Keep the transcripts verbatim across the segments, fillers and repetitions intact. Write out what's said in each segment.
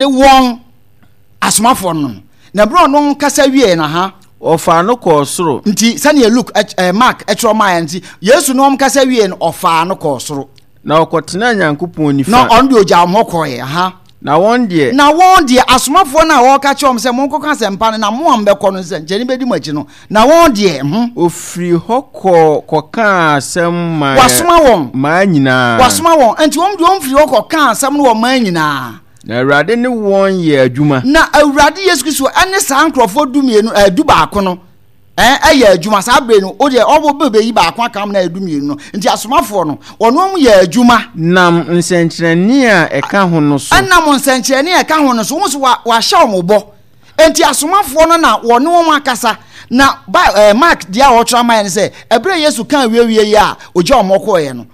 Wɔn asomafoɔ no no. Na berɛ a ɔno kasa wieɛ no, ha. Ɔfaa no kɔɔ soro. Nti sɛdeɛ Luke ɛ Mark kyerɛ maa yɛn nti, Yesu ne wɔn kasa wieɛ no, ɔfaa no kɔɔ soro. Na ɔkɔtenaa Nyankopɔn nifa. Na ɔno deɛ ɔgyaa wɔn hɔ kɔeɛ, aha. Na wɔn deɛ. Na wɔn deɛ, asomafoɔ no a wɔreka kyerɛ wɔn sɛ, Monkɔka asɛmpa no, na mo a mobɛkɔ no nsɛnkyerɛnne bɛdi mo akyi no, na wɔn deɛ, ho. Ɔfirii hɔ kɔɔ kɔkaa asɛm maa. Wasoma wɔn. Maa nyinaa. Wasoma wɔn. Nti wɔn deɛ wɔn firii hɔ kɔkaa asɛm no wɔ maa nyinaa. Na Awurade ne wɔn yɛɛ adwuma. Na Awurade Yesu Kristo ne saa nkurɔfoɔ du mmienu ɛɛ du baako no ɛɛ ɛyɛ adwuma saa bere no o deɛ ɔbɔ bɛ bɛyi baako aka na ɛyɛ du mmienu no nti asomafoɔ no wɔn wɔn yɛ adwuma. Nam nsɛnkyerɛnne a ɛka ho no so. Ɛnam nsɛnkyerɛnne a ɛka ho no so wɔn nso wa wahyɛ wɔn bɔ nti asomafoɔ no na wɔne wɔn akasa na ba ɛɛ Mark deɛ a ɔtwerɛ ama yɛn sɛ ɛberɛ Yesu kan wiewie yi a ogya wɔn kɔɔeɛ no.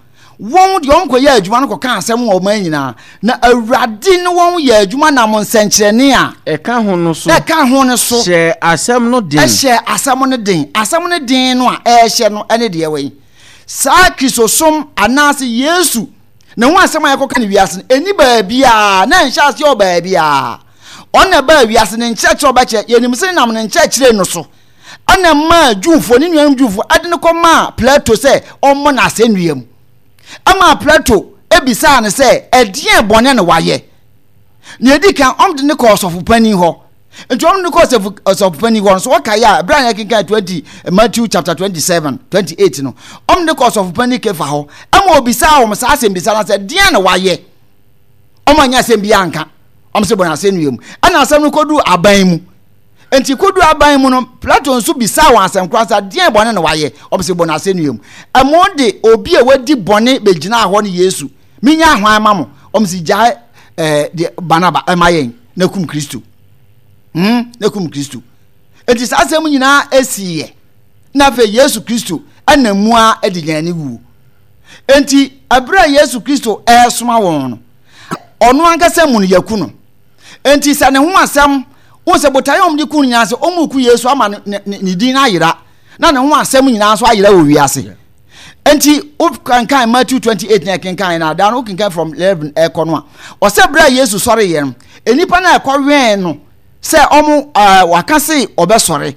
Wɔn deɛ wɔn kɔyɛɛ adwuma no kɔkaa asɛm wɔ ɔman nyinaa, na Awurade ne wɔn yɛɛ adwuma nam nsɛnkyerɛnne a. Ɛka ho no so. Ɛka ho no so. Hyɛɛ asɛm no den. Hyɛɛ asɛm no den. Asɛm no den no a ɛrehyɛ no ne deɛ wɛn? Saa Kristosom anaasɛ Yesu ne ho asɛm a yɛkɔka no wiase no, ɛnni baabiara, na ɛnhyɛ aseɛ wɔ baabiara. Ɔno na ɛbaa wiase, ne nkyerɛkyerɛ ɔbɛkyerɛ, yɛnim sɛ nam ne nkyerɛkyerɛ no so ɛna ɛmaa Jewfoɔ, ne nuanom Jewfoɔ, de no kɔmaa Plato sɛ ɔmmɔ no asɛnnua mu. Ɛmaa Plato bisaa no sɛ, ɛdeɛn bɔne na wayɛ? Nea ɛdi kan, wɔde no kɔɔ ɔsɔfopanin hɔ. Nti wɔde no kɔɔ ɔsɔfopanin hɔ no, so wɔkae a, ɛberɛ a yɛkenkan twenty, Matthew chapter twenty-seven, twenty-eight no, wɔde no kɔɔ ɔsɔfopanin Kefa hɔ, ɛma obisaa wɔn saa asɛmbisa no sɛ, deɛn na wayɛ? Wɔn anyɛ asɛm biara anka. Wɔn sɛ bɔ no asɛnnua mu. Ɛna asɛm no kɔduu aban mu. Enti koduu aban mu no, Plato nso bisaa wɔn asɛm koro sɛ, Deɛn bɔne na wayɛ? Wɔse, Bɔ no asɛnnua mu. Ɛma ɔde obi a wadi bɔne bɛgyinaa hɔ ne Yesu. Mennyaa hwan ma mo? Wɔse, Gyae eh, deɛ Barnaba ma yɛn na kum Kristo. Hmm, na kum Kristo. Enti saa asɛm nyinaa esiiɛ. Na afei Yesu Kristo ɛna mu ara de yɛn ani wuo. Enti ɛberɛ a Yesu Kristo ɛresoma wɔn no, ɔno ankasa mu no yɛku no. Enti sɛ ne ho asɛm, wohu sɛ botaeɛ a wɔde ku no nyinaa sɛ wɔreku Yesu ama ne, ne, ne din no ayera, na ne ho asɛm nyinaa nso ayera wɔ wiase. Enti wokankan Matthew twenty-eight na ɛkenkan na adaa no wokenkan from eleven ɛkɔ no a, ɔsɛ berɛ a Yesu sɔreeɛ no, nnipa no a ɛkɔwɛn no sɛ ɔmo ɛɛ waka se ɔbɛsɔre.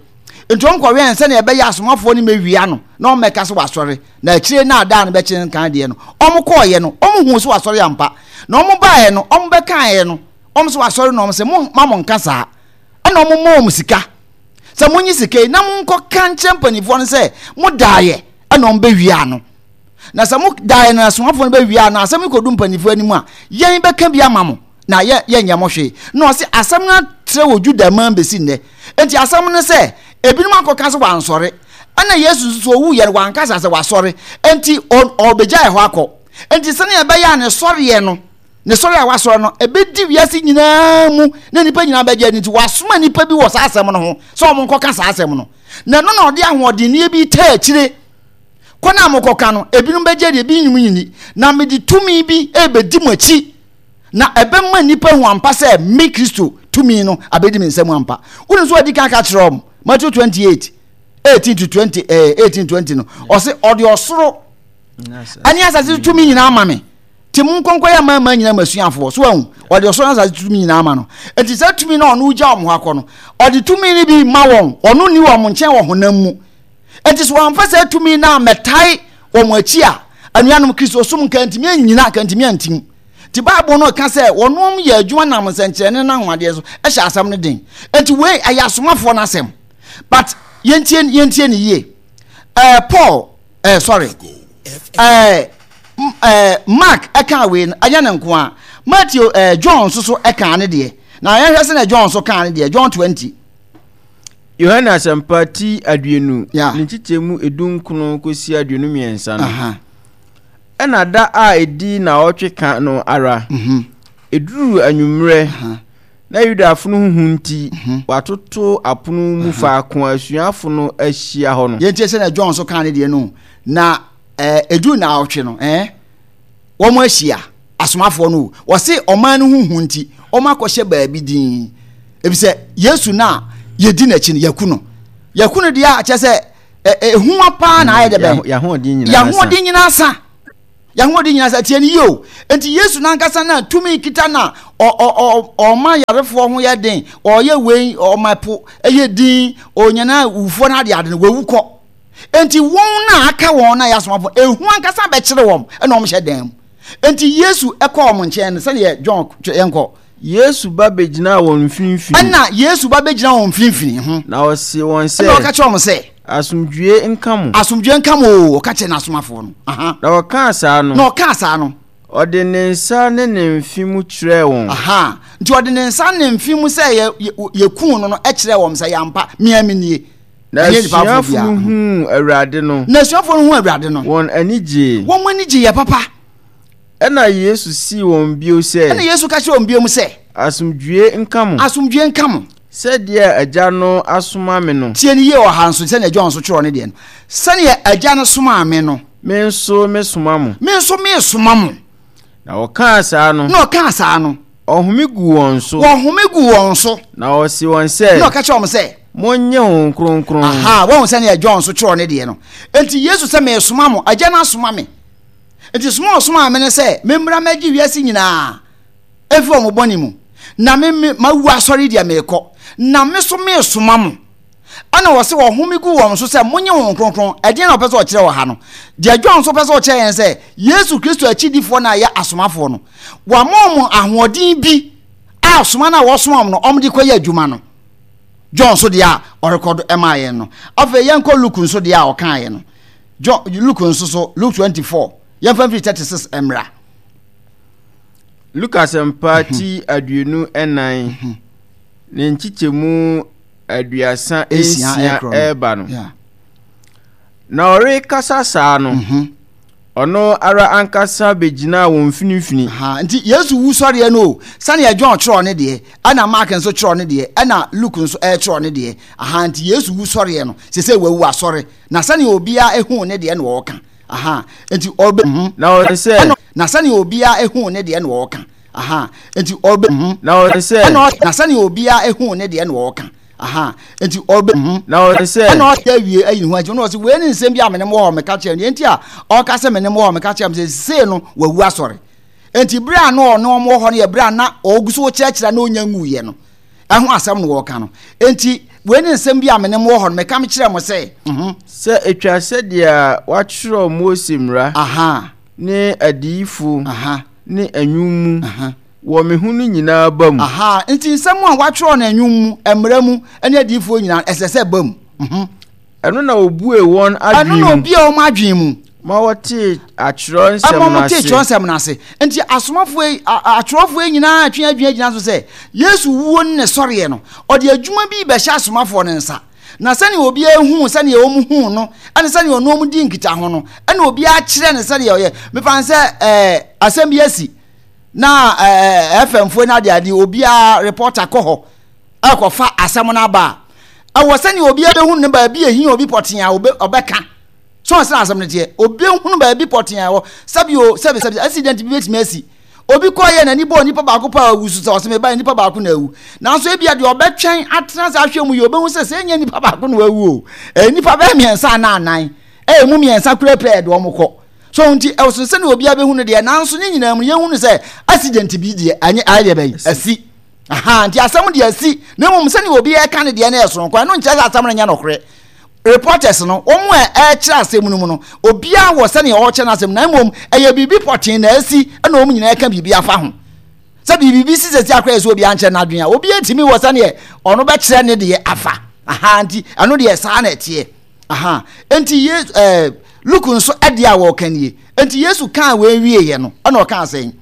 Nti wɔn kɔwɛn sɛnea ɛbɛyɛ asomafoɔ no mɛwia no na wɔn mɛka sɛ wasɔre. Na akyire no a da no bɛkye nkan deɛ no, wɔn kɔɔeɛ no, wɔn huu sɛ wasɔre ampa. Na wɔn baeɛ no, wɔn bɛkaeɛ no, wɔn sɛ wasɔre no, wɔn sɛ mo ma mo nka saa. Ɛna wɔn mɔ wɔn sika sɛ monyi sika yi na monkɔka nkyerɛ mpanimfoɔ no sɛ mo daeɛ, ɛna wɔn bɛwia no. Na sɛ mo daeɛ no asomafoɔ no bɛwia no, asɛm no kɔdu mpanimfoɔ anim a, yɛn bɛka bi ama mo na yɛ yɛnyɛ mo hwee. Na ɔse asɛm no atrɛ wɔ Juda man bɛsi nnɛ. Enti asɛm no sɛ ebinom akɔka sɛ wansɔre. Ɛna Yesu nso so owuiɛ no wanka saa sɛ wasɔre. Enti ɔbɛgyae hɔ akɔ. Enti sɛnea ɛbɛyɛ a ne sɔreɛ no, ne sɔre a wasɔre no, ɛbɛdi wiase nyinaa mu na nnipa nyinaa bɛgye adi nti, wasoma nnipa bi wɔ saa asɛm no ho sɛ wɔn nkɔka saa asɛm no. Na ɛno na ɔde ahoɔdenneɛ bi taa akyire. Kɔ no a mokɔka no, ebinom bɛgye adi, ebinom nni. Na mede tumi bi rebɛdi mo akyi, na ɛbɛma nnipa ahu ampa sɛ me Kristo tumi no abɛdi me nsa mu ampa. Wonim sɛ wadi kan ka kyerɛ wɔn, Matthew twenty-eight, eighteen to twenty, eh, eighteen twenty no, ɔse ɔde ɔsoro ɛne asase tumi nyinaa ama me, nti mo nkɔnkɔ yɛ amanaman nyinaa ma asuafoɔ. So ahu, ɔde ɔsoro ne asase tumi nyinaa ama no. Nti saa tumi no a ɔno gya wɔn hɔ akɔ no, ɔde tumi no bi ma wɔn, ɔno nni wɔn nkyɛn wɔ honam mu. Nti sɛ wɔamfa saa tumi no ammɛtae wɔn akyi a, anuanom, Kristosom nka ntumi annyina, nka ntumi antim. Nti Bible no ka sɛ wɔnom yɛ adwuma nam nsɛnkyerɛnne ne anwanwadeɛ so hyɛ asɛm no den. Nti wei ɛyɛ asomafoɔ no asɛm. But yɛntie yɛntie no yie. Ɛɛ Paul ɛɛ sorry ɛɛ ɛɛ Mark ɛkaa wei no ɛnyɛ ne nko a. Matthew ɛɛ John nso so ɛkaa ne deɛ. Na yɛnhwɛ sɛ na John nso kaa ne deɛ. John twenty. Yohane Asɛmpa ti aduonu ne nkyekyɛmu edunkron kɔsi aduonu mmiɛnsa no. Ɛna da a ɛdi naawɔtwe ka no ara, ɛduruu anwummerɛ, na Yudafo no ho hu nti, wɔatoto apono mu faako a asuafo no ahyia hɔ no. Yɛntie sɛnea John nso kaa ne deɛ no. Na ɛduru naawɔtwe no, eh, wɔn ahyia, asomafoɔ no, wɔse ɔman no ho hu nti, wɔn akɔhyɛ baabi din. Efisɛ Yesu no a yɛdi n'akyi no, yɛaku no. Yɛaku no deɛ a, kyerɛ sɛ ehua paa na ayɛ dɛ bɛn. Yɛahoɔden nyinaa sa. Yɛahoɔden nyinaa sa. Tie no yie o. Nti Yesu n'ankasa na tumi kita na Ɔma yarefoɔ ho yɛ den, ɔyɛ wei, ɔma po ɛyɛ din, ɔnyana wufoɔ no ade ade no, wawu kɔ. Enti wɔn na aka wɔn na yɛ asomafoɔ, ehu ankasa bɛkyere wɔn, ɛna wɔn hyɛ dan mu. Enti Yesu ɛkɔ wɔn nkyɛn no, sɛdeɛ John yɛn kɔ. Yesu ba bɛgyinaa wɔn mfimfini. Ɛna Yesu ba bɛgyina wɔn mfimfini ho. Na ɔse wɔn sɛ. Ɛna ɔka kyerɛ wɔn sɛ. Asomdwie nka mo. Asomdwie nka mo o, ɔka kyerɛ n'asomafoɔ no. Aha. Na ɔkaa saa no. Na ɔkaa saa no. Ɔde ne nsa ne ne mfe mu kyerɛɛ wɔn. Aha. Nti ɔde ne nsa ne ne mfe mu sɛ yɛ yɛkuu no no kyerɛɛ wɔn sɛ yɛampa, mea me nie. Na asuafoɔ no huu Awurade no. Na asuafoɔ no huu Awurade no. Wɔn ani gyee. Wɔn ani gyeeɛ papa. Ɛnna Yesu see wɔn bio sɛ. Ɛnna Yesu ka kyerɛɛ wɔn bio sɛ. Asomdwoeɛ nka mo. Asomdwoeɛ nka mo. Sɛdeɛ Agya no asoma me no. Tie no yie wɔ ha nso, sɛdeɛ John nso twerɛ ne deɛ no. Sɛdeɛ Agya no somaa me no. Me nso mesoma mo. Me nso mesoma mo. Na ɔkaa saa no. Na ɔkaa saa no. Ɔhome guu wɔn so. Wɔhome guu wɔn so. Na ɔse wɔn sɛ. Na ɔka kyerɛ wɔn sɛ. Monnye Honhom Kronkron. Aha, wɔn sɛdeɛ John nso twerɛ ne deɛ no. Enti Yesu sɛ mesoma mo, Agya no asoma me. Enti soma a ɔsomaa me ne sɛ memmra mmɛgye wiase nyinaa mfi wɔn bɔne mu. Na me me mawu asɔre deɛ merekɔ, na me so meresoma mo. Ɛna wɔse wɔhome gu wɔn so sɛ monye Honhom Kronkron. Ɛdeɛn na ɔpɛ sɛ ɔkyerɛ wɔ ha no? Deɛ John nso pɛ sɛ ɔkyerɛ yɛn sɛ Yesu Kristo akyidifoɔ no a ɛyɛ asomafoɔ no, wama wɔn ahoɔden bi a soma no a wɔsoma wɔn no wɔde kɔyɛ adwuma no. John nso deɛ a ɔrekɔdo ɛmaa yɛn no. Afei yɛnkɔ Luke nso deɛ a ɔkaeɛ no. John, Luke nso so, Luke twenty-four, yɛmfa mfiri thirty-six mmra. Luke asɛmpa mhm. ti aduonu nnan mhm. ne nkyekyɛmu aduasa nsia ɛreba no. Na ɔrekasa saa no, mhm. ɔno ara ankasa bɛgyinaa wɔn mfinimfini. Nti Yesu wu sɔreɛ no o, sɛdeɛ John twerɛ ne deɛ, ɛna Mark nso twerɛ ne deɛ, ɛna Luke nso ɛretwerɛ ne deɛ. Aha, nti Yesu wu sɔreɛ no, sɛ sɛ wawu asɔre. Na sɛnea obiara ehu ne deɛ na ɔreka. Aha, nti ɔbɛ. Mhm. Na ɔsɛ sɛ. Ɛna, na sɛnea obiara ehu ne deɛ na ɔreka. Aha, nti ɔbɛ. Mhm. Na ɔsɛ sɛ. Ɛna, na sɛnea obiara ehu ne deɛ na ɔreka. Aha, nti ɔbɛ. Mhm. Na ɔsɛ sɛ. Ɛna ɔyɛ awie ayi ne ho akyi. Ɛna ɔsɛ wei ne nsɛm bi a mene mo wɔ hɔ meka kyerɛ no. Deɛ nti a ɔka sɛ mene mo wɔ hɔ meka kyerɛ mo sɛ sei no wawu asɔre. Nti bere a na ɔne wɔn wɔ hɔ no yɛ bere a na ɔgu so kyerɛkyerɛ na ɔnya nwuiɛ no. Ɛho asɛm na wɔreka no. Enti, wei ne nsɛm bi a me ne mo wɔ hɔ no, meka mekyerɛ mo sɛ. Mhm. Sɛ etwa sɛdeɛ wɔatwerɛ Mose mmara. Aha. Ne adiyifo. Aha. Ne nnwom mu. Aha. Wɔ me ho no nyinaa ba mu. Aha. Enti nsɛm a wɔatwerɛ no nnwom mu, mmara mu, ne adiyifoɔ nyinaa, ɛsɛ sɛ ɛba mu. Mhm. Ɛno na obuee wɔn adwene mu. Ɛno na obuee wɔn adwene mu. Ma wɔtee atwerɛ nsɛm no ase. Ɛma wɔtee twerɛ nsɛm no ase. Nti asomafoɔ yi, atwerɛfoɔ yi nyinaa twe adwene gyina so sɛ Yesu wuo ne ne sɔreɛ no, ɔde adwuma bi rebɛhyɛ asomafoɔ no nsa. Na sɛnea obiara huu sɛnea wɔn huu no, ɛne sɛnea ɔne wɔn di nkitaho no, ɛna obiara kyerɛ no sɛnea ɔyɛ. Mefa no sɛ ɛɛ asɛm bi asi na ɛɛ F M foɔ no adeade obiara reporter kɔ hɔ ɛkɔfa asɛm no aba a, ɛwɔ sɛnea obiara bɛhu no baabi ehia obi pɔtee a ɔbɛka. So ɔsɛ asɛm no teɛ? Obi hunu baabi pɔtee a ɛwɔ. Sɛbi o, sɛbi sɛbi, accident bi betumi asi. Obi kɔɔ yɛ n'ani bɔɔ nipa baako paa awu so sɛ ɔsɛ meba nipa baako na awu. Nanso ebia deɛ ɔbɛtwɛn atena ase ahwɛ mu yɛ obehu sɛ sɛ ɛnyɛ nipa baako na wawu o, ɛyɛ nipa bɛyɛ mmiɛnsa anaa anan. Ɛyɛ mu mmiɛnsa kura pɛ ɛde wɔn kɔ. So nti ɛwɔ sɛnea obiara bɛhu no deɛ, nanso ne nyinaa mu yɛhu no sɛ accident bi deɛ anyɛ ayɛ deɛ bɛyi asi. Aha, nti asɛm deɛ asi, na mmom sɛnea obiara ka ne deɛ no yɛ soronko, ɛno nkyerɛ sɛ asɛm no nyɛ nokorɛ. Reporters no, wɔn a ɛrekyerɛ asɛm no mu no, obiara wɔ sɛnea ɔrekyerɛ n'asɛm, na mmom ɛyɛ biribi pɔtee na asi na wɔn nyinaa ka biribi afa ho. Sɛ biribi si sɛsi akora yɛ sɛ obiara nkyerɛ n'adwene a, obiara ntumi wɔ sɛnea ɔno bɛkyerɛ ne deɛ afa. Aha, nti ɛno deɛ saa na ɛteɛ. Aha, nti Yesu, ɛɛ, Luke nso ɛdeɛ a wɔreka nie. Nti Yesu kaa wei wieeɛ no, ɛna ɔkaa sɛn?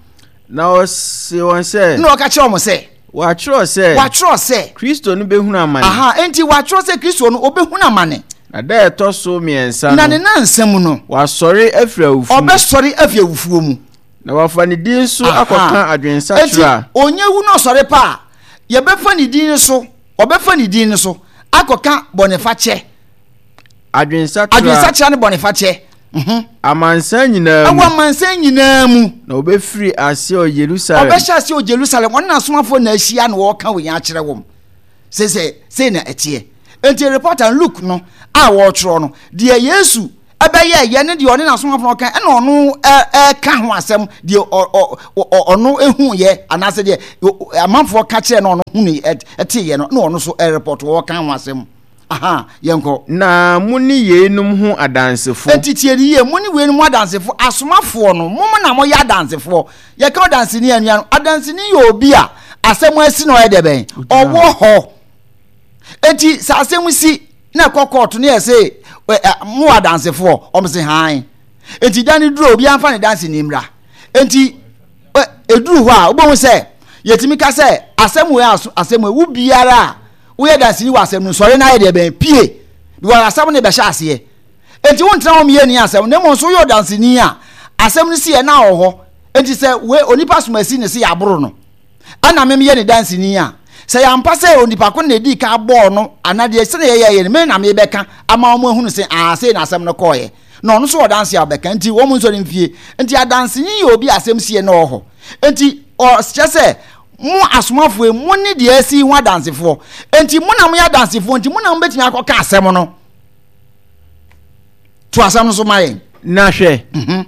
Na ɔse wɔn sɛ. Na ɔka kyerɛ wɔn sɛ. Wɔatwerɛ sɛ. Wɔatwerɛ sɛ. Kristo no bɛhunu amane. Aha, enti wɔatwerɛ sɛ Kristo no, ɔbɛhunu amane. Na da a ɛtɔ so mmiɛnsa no. Na ne nnansa mu no. Wasɔre afiri awufoɔ mu. Ɔbɛsɔre afiri awufoɔ mu. Na wɔafa ne din so akɔka adwensakyera. Enti ɔnya wu na ɔsɔre pa a, yɛbɛfa ne din so, ɔbɛfa ne din so akɔka bɔnefakyɛ. Adwensakyera. Adwensakyera ne bɔnefakyɛ. Mhm. Amansan nyinaa mu. Ɛwɔ amansan nyinaa mu. Na ɔbɛfiri aseɛ wɔ Yerusalem. Ɔbɛhyɛ aseɛ wɔ Jerusalem. Ɔne n'asomafoɔ na ahyia na wɔreka wei akyerɛ wɔn. Sɛ sɛ sei na ɛteɛ. Enti reporter Luke no a wɔretwerɛ no, deɛ Yesu ɛbɛyɛ yɛ ne deɛ ɔne n'asomafo no ɔka ɛna ɔno ɛka ho asɛm deɛ ɔno ehu yɛ anaasɛ deɛ amanfoɔ ka kyerɛ na ɔno hu ne ɛte yɛ no na ɔno so ɛrepɔt ɔka ho asɛm. Aha, yɛnkɔ. Na mo ne yeinom ho adansefo. Enti tie ne yie, mo ne weinom ho adansefo, asomafoɔ no, mo na moyɛ adansefoɔ. Yɛka ɔdanseni a, anuanom, adanseni yɛ obi a asɛm asi na ɔyɛ dɛ bɛn? Ɔwɔ hɔ. Enti sɛ asɛm si na ɛkɔ kɔɔto na yɛse mo wɔ adansefoɔ, wɔn se hann. Enti da no duru a, obiara mfa ne danseni mmra. Enti ɛduru hɔ a, wobɛhu sɛ yɛtumi ka sɛ asɛm wei asɛm wei, wo biara a woyɛ danseni wɔ asɛm no sɔre na ayɛ deɛ bɛn pie because asɛm no bɛhyɛ aseɛ enti wontena hɔ meyɛ ni asɛm na mmom nso woyɛ ɔdanseni a asɛm no si yɛ na wɔ hɔ enti sɛ we onipa somasi ne se yɛaboro no ɛna me meyɛ ne danseni a sɛ yɛampa sɛ onipa ko na ɛdii ka bɔɔ no anaa deɛ sɛdeɛ yɛyɛyɛ no me na mebɛka ama wɔn ahunu sɛ aa sei na asɛm no kɔɔyɛ na ɔno nso wɔ danse a ɔbɛka nti wɔn nsɔre mfie nti adanseni yɛ obi asɛm sie na ɔwɔ hɔ nti ɔkyɛ sɛ mo asomafoɔ yi mo ne deɛ asi ho adansefoɔ nti mo na moyɛ adansefoɔ nti mo na mobɛtumi akɔka asɛm no to asɛm no so ma yɛn. Na hwɛ, mhm.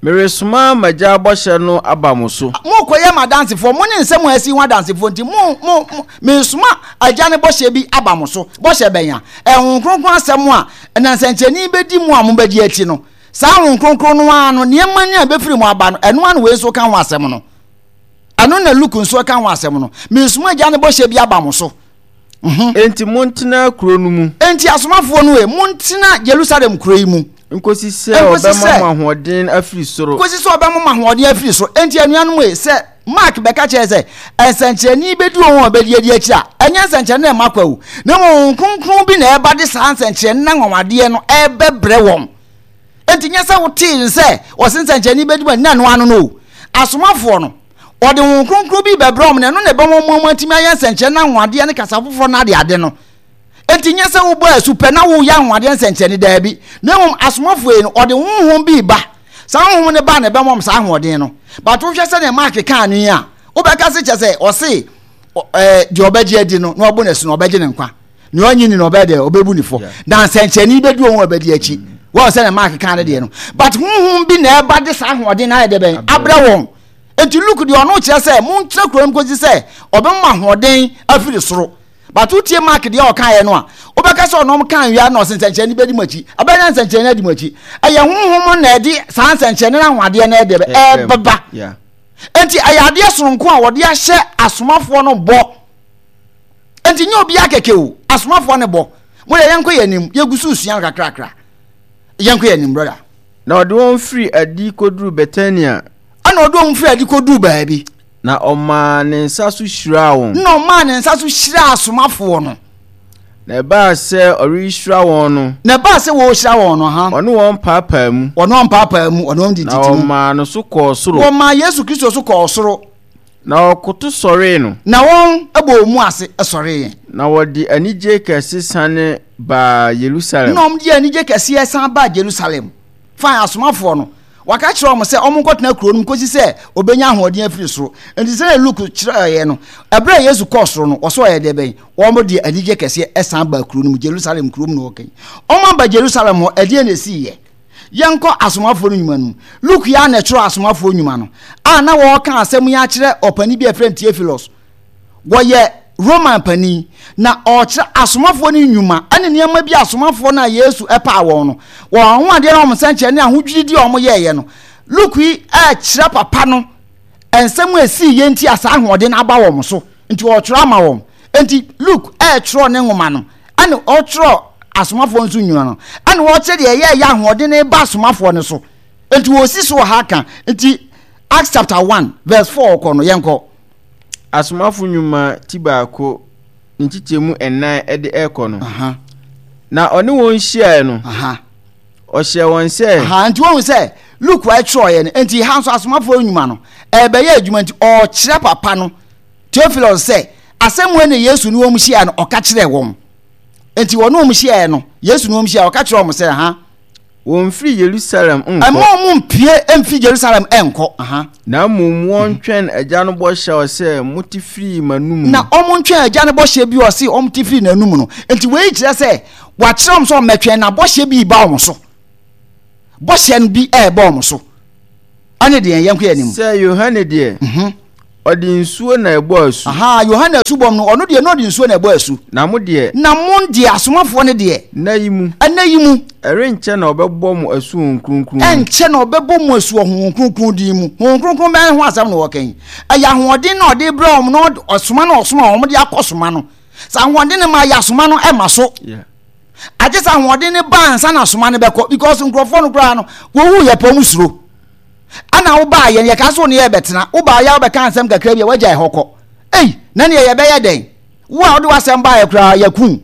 meresoma m'agya bɔhyɛ no aba mo so. Mokɔyɛ m'adansefoɔ, mo ne nsɛm a asi ho adansefoɔ nti mo mo mo meresoma agya no bɔhyɛ bi aba mo so. Bɔhyɛ bɛn a? Ɛho kronkron asɛm a na nsɛnkyerɛnne bɛdi mu a mobɛgye akyi no. Saa Honhom Kronkron no ara no, nneɛma no a ɛbɛfiri mu aba no, ɛno ara na wei nso ka ho asɛm no. Ɛno na Luke nso ka ho asɛm no. Meresoma Agya no bɔhyɛ bi aba mo so. Mhm. Enti montena kuro no mu. Enti asomafoɔ no e, montena Jerusalem kuro yi mu. Nkosi sɛ ɔbɛma mo ahoɔden afiri soro. Nkosi sɛ ɔbɛma mo ahoɔden afiri soro. Enti anuanom e, sɛ Mark bɛka kyerɛ sɛ nsɛnkyerɛnne bɛdi wɔn a wɔbɛdi adi akyi a, ɛnyɛ nsɛnkyerɛnne na ɛma kwa o, na mmom Honhom Kronkron bi na ɛba de saa nsɛnkyerɛnne na anwanwadeɛ no ɛbɛbrɛ wɔn. Enti nyɛ sɛ wotee no sɛ ɔse nsɛnkyerɛnne bɛdi wɔn na ɛno ano no o. Asomafoɔ no, ɔde Honhom Kronkron bi bɛbrɛ wɔn na ɛno na ɛbɛma wɔn atumi ayɛ nsɛnkyerɛnne na anwanwadeɛ ne kasa foforɔ no adeade no. Enti nyɛ sɛ wobɔ asu pɛ na woyɛ anwanwadeɛ nsɛnkyerɛnne, daabi, na mmom asomafoɔ yi no, ɔde honhom bi reba. Saa honhom no ba na ɛbɛma wɔn saa ahoɔden no. But wohwɛ sɛdeɛ Mark kaa no yi a, wobɛka se kyɛ sɛ ɔse ɛɛ deɛ ɔbɛgye adi no na ɔbɔ n'asu no ɔbɛgye ne nkwa. Nea ɔnye ni no ɔbɛyɛ deɛ ɔbɛbu ne fɔ. Na nsɛnkyerɛnne bɛdi wɔn a ɔbɛdi akyi. Wɔn sɛdeɛ Mark kaa no deɛ no. But honhom bi na ɛba de saa ahoɔden no ayɛ deɛ bɛn abrɛ wɔn. Enti Luke deɛ ɔno kyerɛ sɛ montena kuro no mu kɔsi sɛ ɔbɛma ahoɔden afiri soro. But wotie Mark deɛ ɔkaeɛ no a, wobɛka sɛ ɔnom kaa wia na ɔse nsɛnkyerɛnne bɛdi mo akyi. Ɛbɛyɛ na nsɛnkyerɛnne adi mo akyi. Ɛyɛ honhom na ɛde saa nsɛnkyerɛnne no ahoadeɛ no ɛde ɛbɛba. Enti ɛyɛ adeɛ sononko a wɔde ahyɛ asomafoɔ no bɔ. Enti nyɛ obiara kɛkɛ o, asomafoɔ no bɔ. Mo deɛ yɛnkɔ yɛn anim, yɛgu so resua no kakrakra. Yɛnkɔ yɛn anim, brother. Na ɔde wɔn firii adi kɔduruu Betania. Ɛna ɔde wɔn firii adi kɔduruu baabi. Na ɔmaa ne nsa so hyiraa wɔn. Na ɔmaa ne nsa so hyiraa asomafoɔ no. Na ɛbaa sɛ ɔrehyira wɔn no. Na ɛbaa sɛ wɔrehyira wɔn no, ha. Ɔne wɔn paapaa mu. Ɔne wɔn paapaa mu, ɔne wɔn dididi mu. Na ɔmaa no so kɔɔ soro. Wɔmaa Yesu Kristo so kɔɔ soro. Na wɔkoto sɔree no. Na wɔn bɔɔ mu ase sɔree. Na wɔde anigye kɛse sane baa Yerusalem. Na wɔde anigye kɛseɛ san baa Jerusalem. Fine, asomafoɔ no, wɔaka kyerɛ wɔn sɛ wɔnkɔtena kuro no mu kɔsi sɛ wɔbɛnya ahoɔden afiri soro. Enti sɛdeɛ Luke kyerɛeɛ no, ɛberɛ a Yesu kɔɔ soro no, wɔsɛ ɔyɛ deɛ bɛn? Wɔde anigye kɛseɛ san baa kuro no mu, Jerusalem kurom na wɔka yi. Wɔaba Jerusalem hɔ, ɛdeɛn na ɛsiiɛ? Yɛnkɔ Asomafoɔ no Nnwuma no mu. Luke yi ara na ɛtwerɛɛ Asomafoɔ Nnwuma no, a na wɔreka asɛm yi akyerɛ ɔpanin bi a yɛfrɛ no Theophilus. Wɔyɛ Roman panin, na ɔrekyerɛ Asomafoɔ no nnwuma ne nneɛma bi a Asomafoɔ no a Yesu paa wɔn no, wɔn anwanwadeɛ ne wɔn nsɛnkyerɛnne ne ahodwirideɛ a wɔyɛeɛ no. Luke yi rekyerɛ papa no nsɛm a ɛsiiɛ nti a saa ahoɔden no aba wɔn so, nti ɔretwerɛ ama wɔn. Enti Luke retwerɛ ne nwoma no, ɛna ɔtwerɛ asomafoɔ nso nnwuma no, ɛna ɔkyerɛ deɛ ɛyɛ ɛyɛ ahoɔden no ba asomafoɔ no so. Enti wɔsi so wɔ ha ka. Nti Acts chapter one verse four kɔ no, yɛnkɔ. Asomafo nnwuma ti baako ne nkyekyɛmu nnan de ɛrekɔ no. Na ɔne wɔn hyiaeɛ no, ɔhyɛɛ wɔn sɛ. Aha, nti wɔn sɛ Luke a ɛtwerɛeɛ no, nti ha nso asomafoɔ nnwuma no ɛrebɛyɛ adwuma nti ɔrekyerɛ papa no Theophilus sɛ, asɛm wei na Yesu ne wɔn hyiaeɛ no, ɔka kyerɛɛ wɔn. Enti wɔne wɔn hyiaeɛ no, Yesu ne wɔn hyiaeɛ, ɔka kyerɛɛ wɔn sɛ, ha. Wɔmfiri Yerusalem nkɔ. Ɛmma wɔn mpue mfiri Yerusalem nkɔ. Aha. Na mmom wɔntwɛn Agya no bɔhyɛ a ɔsɛ mote firii m'anom no. Na wɔntwɛn Agya no bɔhyɛ bi a ɔse wɔte firii n'anom no. Enti wei kyerɛ sɛ, wakyerɛ wɔn sɛ wɔmmɛtwɛn, na bɔhyɛ bi reba wɔn so. Bɔhyɛ no bi ɛɛbɔ wɔn so. Ɛne deɛ yɛn kɔ yɛn anim. Sɛ Yohane deɛ, mhm. ɔde nsuo na ɛbɔ asu. Aha, Yohane asubɔm no, ɔno deɛ na ɔde nsuo na ɛbɔ asu. Na mo deɛ. Na mo deɛ, asomafoɔ no deɛ. Nna yi mu. Ɛnna yi mu. Ɛrenkyɛ na ɔbɛbɔ mo asu Honhom Kronkron mu. Ɛnkyɛ na ɔbɛbɔ mo asu wɔ Honhom Kronkron din mu. Honhom Kronkron bɛn ho asɛm na wɔka yi? Ɛyɛ ahoɔden na ɔde brɛ wɔn na ɔsoma na ɔsoma wɔn de akɔ soma no. Sɛ ahoɔden no ma yɛ asoma no ɛma so. Yeah. Agye sɛ ahoɔden no ba ansa na asoma no bɛkɔ, because nkurɔfoɔ no koraa no wɔwu yɛ pɔ mu suro. Ana wobaa yɛn yɛka so ne yɛbɛtena, wobaa yɛ wobɛka nsɛm kakra bi a wagya ɛhɔ kɔ. Ei, na neɛ yɛbɛyɛ dɛn? Wo a wode w'asɛm baeɛ koraa yɛku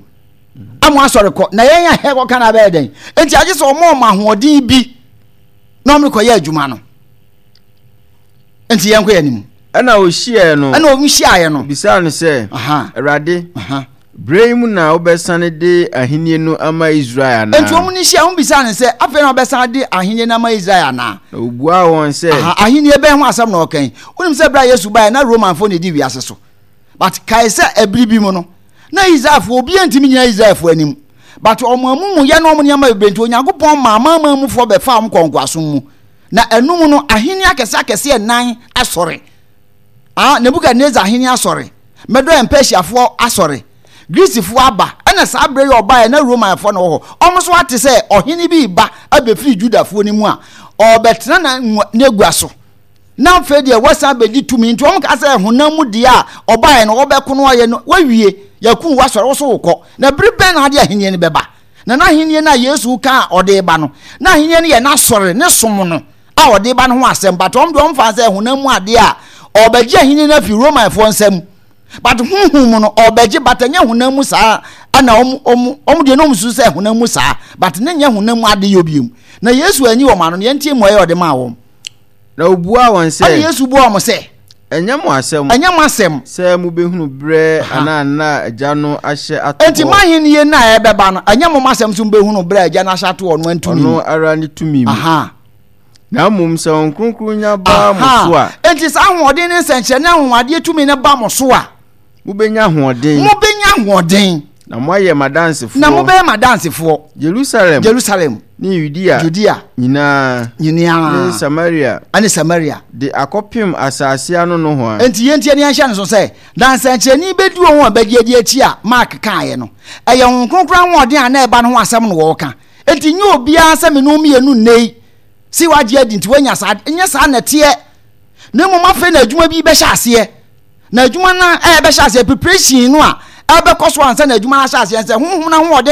ama asɔre kɔ, na yɛn a yɛkɔka no abɛyɛ dɛn? Enti agye sɛ ɔma ɔma ahoɔden bi na ɔmo kɔyɛ adwuma no. Enti yɛnkɔ yɛn anim. Ɛna ɔhyiaeɛ no. Ɛna ɔmo hyiaeɛ no. Bisaa no sɛ, Awurade, berɛ yi mu na wobɛsane de ahennie no ama Israel anaa? Enti wɔn ne hyia, wɔn bisaa no sɛ, afei na wobɛsan de ahennie no ama Israel anaa? Na ɔbuaa wɔn sɛ. Aha, ahennie bɛn ho asɛm na ɔka yi? Wonim sɛ berɛ a Yesu baeɛ na Romanfoɔ na ɛdi wiase so. But kae sɛ ɛbere bi mu no, na Israelfoɔ, obiara ntumi nyina Israelfoɔ anim. But wɔn amumuyɛ ne wɔn nneɛma bebree nti, Onyankopɔn maa amanaman mufoɔ bɛfaa wɔn kɔɔ nkoasom mu. Na ɛno mu no, ahenni akɛse akɛse nnan asɔre. Ah, Nebukadnesar ahenni asɔre, Medo and Persiafoɔ asɔre, Greecefoɔ aba, ɛna saa berɛ yi ɔbaeɛ na Romanfoɔ na wɔ hɔ. Wɔn nso ate sɛ ɔhene bi reba abɛfiri Judafoɔ no mu a ɔrebɛtena n'agua so. Na afei deɛ wasan bɛdi tumi, nti wɔn ka sɛ honam mu deɛ a ɔbaeɛ no ɔbɛko no ɔyɛ no wawie, yɛku wasɔre, wo so wokɔ. Na bere bɛn na ade ahenni no bɛba? Na n'ahenni no a Yesu ka a ɔde reba no, n'ahenni no yɛ n'asɔre, ne som no a ɔde reba no ho asɛm. But wɔn deɛ wɔmfa sɛ honam mu adeɛ a ɔrebɛgye ahenni no afi Romanfoɔ nsam. But honhom mu no ɔrebɛgye, but ɛnyɛ honam mu saa ɛna wɔn wɔn wɔn deɛ na wɔn susu sɛ honam mu saa, but ne nyɛ honam mu ade yɛ obiam. Na Yesu anyi wɔn ano no, yɛntie mmuaeɛ a ɔde maa wɔn. Na ɔbuaa wɔn sɛ. Ɛna Yesu buaa wɔn sɛ. Ɛnyɛ mo asɛm. Ɛnyɛ mo asɛm. Sɛ mobɛhunu berɛ anaa nna a Agya no ahyɛ ato hɔ. Enti mo ahennie no a ɛbɛba no, ɛnyɛ mo asɛm sɛ mobɛhunu berɛ a Agya no ahyɛ ato hɔ no antumi. Ɔno ara ne tumi mu. Aha. Na mmom sɛ Honhom Kronkron nya ba mo so a. Enti saa ahoɔden ne nsɛnkyerɛnne anwanwadeɛ tumi no ba mo so a. Mobɛnya ahoɔden. Mobɛnya ahoɔden. Na moayɛ m'adansefoɔ. Na mobɛyɛ m'adansefoɔ. Jerusalem. Jerusalem. Ne Yudea. Judea. Nyinaa. Nyinaa. Ne Samaria. Ɛne Samaria. De akɔpem asase ano nohoa. Enti yɛntie na yɛnhyɛ no so sɛ, na nsɛnkyerɛnne bɛdi wɔn a bɛgye adi akyi a Mark kaeɛ no. Ɛyɛ Honhom Kronkron ahoɔden a na ɛba no ho asɛm na wɔreka. Enti nyɛ obiara sɛ me ne wo mmienu nnɛ yi, se wagye adi nti woanya saa, nyɛ saa na ɛteɛ. Na mmom afei na adwuma bi bɛhyɛ aseɛ. Na adwuma no a ɛbɛhyɛ aseɛ, preparation no a ɛbɛkɔ so ansa na adwuma no ahyɛ aseɛ, sɛ honhom no ahoɔden